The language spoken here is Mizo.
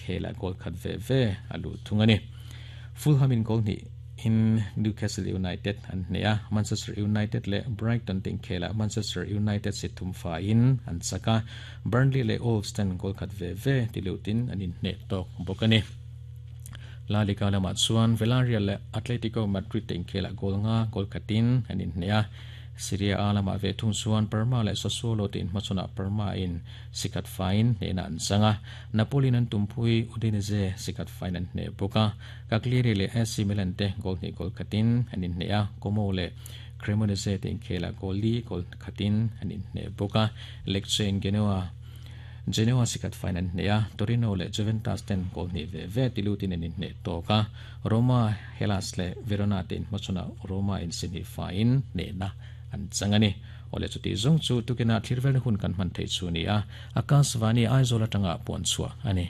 inkhelah goal khat ve ve a luh thung a ni. Fulham in goal hnih in Newcastle United an hneh a, Manchester United leh Brighton te inkhelah Manchester United si thum faiin an chak a, Burnley leh Wolves ten goal khat ve ve ti lutin an inhneh tawk bawk a ni. La Liga lamah chuan Villarreal leh Atletico Madrid te inkhelah goal nga goal khatin an inhneh a, Serie A lamah ve thung chuan Parma leh Sassuolo te inhmachhawnah Parma in sikhat faiin hnehna an chang a, Napoli in an tumpui Udinese sikhat faiin an hneh bawk a, Cagliari leh AC Milan te goal hnih goal khatin an inhneh a, Como leh Cremonese te inkhelah goal li goal khatin an inhneh bawk a, Lecce in Genoa Genoa sikhat faiin an hneh a, Torino leh Juventus ten goal hnih ve ve ti lutin an inhneh tawk a, Roma, Hellas leh Verona te inhmachhawnah Roma in si hnih faiin hnehna an chang a ni. Awle chutih zawng chu tukinah thlir velna hun kan hman theih chu a ni a, Akashvani Aizawl atanga puan chhuah a ni.